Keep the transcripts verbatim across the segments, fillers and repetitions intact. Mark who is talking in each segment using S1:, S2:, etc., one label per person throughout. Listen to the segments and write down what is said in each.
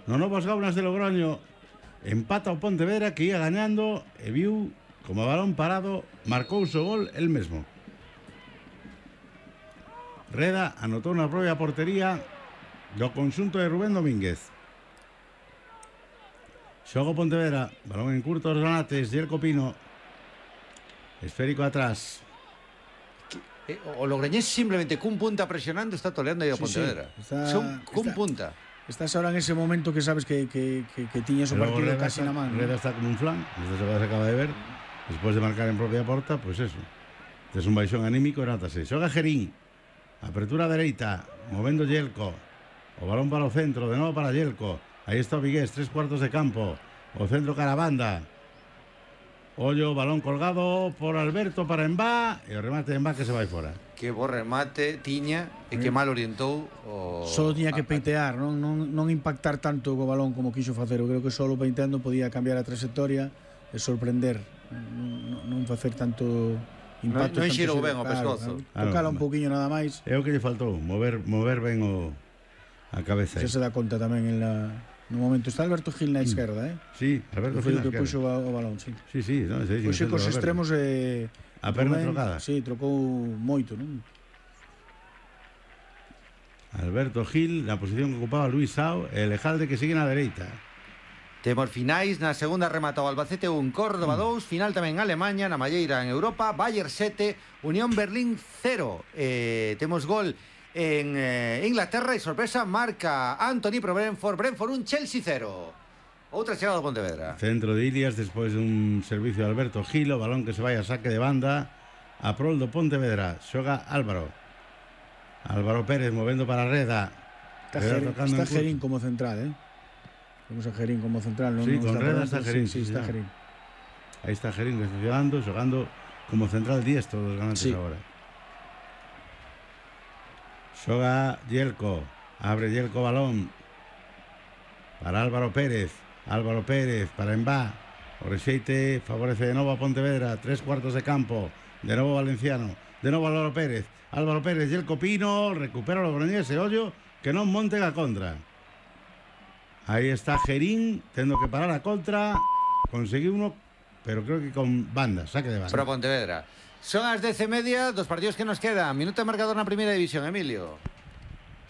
S1: No novos Gaunas de Logroño empata o Pontevedra, que ia gañando e viu como balón parado marcou o seu gol el mesmo. Reda anotou na propia portería do conxunto de Rubén Domínguez. Xogo Pontevedra, balón en curto os granates, Jelko Pino, esférico atrás.
S2: O Logroñés simplemente cun punta presionando está toleando aí o Pontevedra.
S3: Sí, sí. Está,
S2: Son cun
S3: está,
S2: punta.
S3: Estás ahora en ese momento que sabes que, que, que, que tiñas o partido
S1: Reda
S3: casi
S1: está,
S3: na man.
S1: Reda está como un flan, esta jugada se acaba de ver. Despois de marcar en propia porta, pois pues eso. Es un baixón anímico, nátase. Xoga Gerín, apertura dereita, movendo Jelko. O balón para o centro, de novo para Jelko. Aí está o Vigués, tres cuartos de campo. O centro cara a banda. Ollo, balón colgado por Alberto para Embá. E o remate de Embá que se vai fora.
S2: Que bo remate tiña e que mal orientou o...
S3: Só tiña que peitear, non, non, non impactar tanto co balón como quiso facer. Eu creo que solo peiteando podía cambiar a trayectoria e sorprender. Non, non facer tanto impacto.
S2: Non, non
S3: tanto
S2: xirou
S3: xiro,
S2: ben o
S3: claro,
S2: pescozo.
S3: claro. Tocala un pouquiño nada máis.
S1: É o que lle faltou, mover, mover ben o, a cabeza.
S3: Xa se dá conta tamén en la, no momento. Está Alberto Gil na esquerda, eh?
S1: Sí, Alberto
S3: Foi
S1: Gil
S3: o
S1: na
S3: que
S1: esquerda.
S3: puxo o balón, sí.
S1: Sí, sí, no, sí, sí,
S3: Puxo cos extremos e...
S1: A perna
S3: Rubén,
S1: trocada.
S3: Sí, trocou moito, non?
S1: Alberto Gil, na posición que ocupaba Luis Sao, e Lejalde que sigue na dereita.
S2: Temos finais, na segunda rematou Albacete un, Córdoba dous, final tamén en Alemanha, na malleira en Europa, Bayern sete, Unión Berlín cero. Eh, temos gol en eh, Inglaterra e sorpresa marca Anthony pro Brentford, Brentford un, Chelsea cero. Outra chegada do Pontevedra.
S1: Centro de Ilias despois dun servicio de Alberto Gil, o balón que se vai a saque de banda a prol do Pontevedra. Xoga Álvaro. Álvaro Pérez movendo para Reda.
S3: Está, Reda Gerín, está Gerín como central, eh? Vamos a Gerín como central, non?
S1: Sí,
S3: non
S1: con
S3: está
S1: Reda está Gerín.
S3: Sí, sí, está Gerín.
S1: Aí está Gerín recepcionando, xogando como central diestro dos ganantes sí. Agora. Xoga Jelko. Abre Jelko balón para Álvaro Pérez. Álvaro Pérez para Embá. O rexeite favorece de novo a Pontevedra. Tres cuartos de campo. De novo Valenciano. De novo Álvaro Pérez. Álvaro Pérez, Jelko Pino. Recupera o Logroñés e ollo que non monten a contra. Aí está Gerín, tendo que parar a contra. Conseguiu uno, pero creo que con banda, saque de banda.
S2: Pro Pontevedra. Son as dez e media dos partidos que nos quedan. Minuto de marcador na primeira división, Emilio.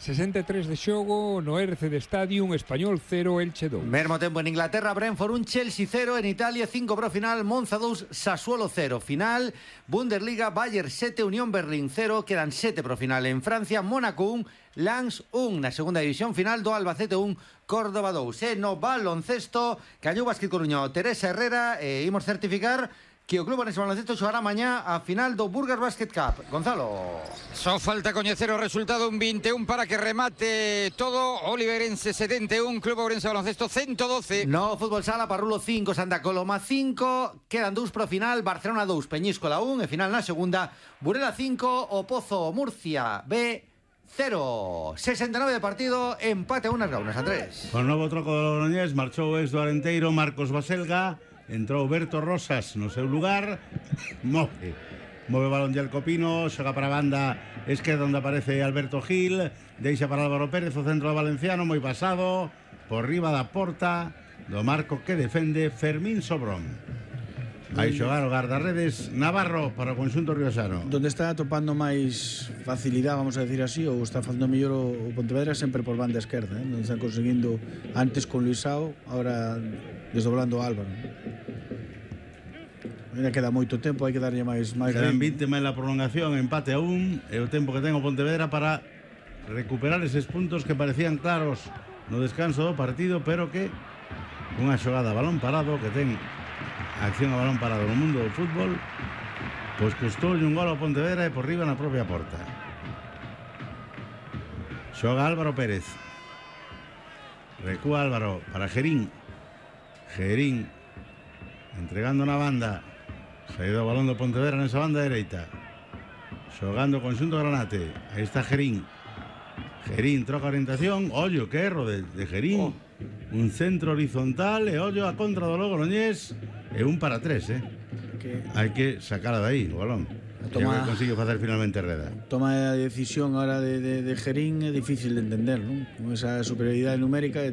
S4: sesenta e tres de xogo no R C D Stadium, Español cero, Elche dous.
S2: Mesmo tempo en Inglaterra, Brentford un, Chelsea cero. En Italia cinco pro final, Monza dous, Sassuolo cero. Final, Bundesliga, Bayern sete, Unión Berlín cero. Quedan sete pro final. En Francia, Mónaco un, Lens un. Na segunda división final do Albacete un, Córdoba dous. E no baloncesto, Cañou Basquet Coruño, Teresa Herrera, e imos certificar que o Club Orense Baloncesto xogará mañá a final do Burgers Basket Cup. Gonzalo.
S5: Só falta coñecer o resultado, un vinte e un para que remate todo. Oliverense setenta e un, Club Ourense Baloncesto ciento doce.
S2: No fútbol sala, Parrulo cinco, Santa Coloma cinco. Quedan dous pro final, Barcelona dous, Peñíscola un. E final na segunda, Burela cinco, O Pozo Murcia B cero. sesenta e nove de partido, empate a unas gaunas a tres.
S1: Con novo troco do Logroñés, marchou o ex do Arenteiro, Marcos Baselga. Entrou Berto Rosas no seu lugar. Move Move balón de Alcopino. Xoga para a banda esquerda onde aparece Alberto Gil. Deixa para Álvaro Pérez, o centro do Valenciano, moi pasado por riba da porta do marco que defende Fermín Sobrón. Vai xogar o guardarredes Navarro para o conxunto riosano.
S3: Donde está atopando máis facilidade, vamos a decir así, ou está facendo mellor o Pontevedra sempre por banda esquerda, eh? Donde está conseguindo antes con Luisao, ahora desdoblando a Álvaro. Ainda queda moito tempo, hai que darlle máis máis
S1: Quedan vinte máis la prolongación, empate a un, e o tempo que ten o Pontevedra para recuperar eses puntos que parecían claros no descanso do partido, pero que unha xogada a balón parado que ten acción a balón parado no mundo do fútbol, pois custou un gol ao Pontevedra e por riba na propia porta. Xoga Álvaro Pérez. Recúa Álvaro para Gerín. Gerín entregando na banda. Saído o balón do Pontevedra nesa banda dereita. Xogando o conxunto Granate. Aí está Gerín. Gerín troca orientación. Ollo, que erro de, de Gerín. Oh. Un centro horizontal e ollo a contra do Logroñés. E un para tres, eh? Que... Hai que sacala de aí, o balón. Toma... que consigue facer finalmente Reda.
S3: Toma a decisión ahora de, de, de Gerín é difícil de entender, non? Con esa superioridade numérica